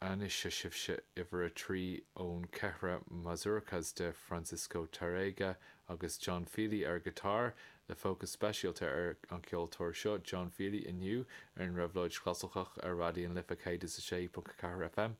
Anois seo sibhse uimhir a 3 ón 4 Mazurkas de Francisco Tárrega agus John Feely ar guitar, le fócas speisialta ar an cheoltóir seo, John Feely, inniu ar an Réabhlóid Chlasaiceach ar Raidió na Life 106.4 FM.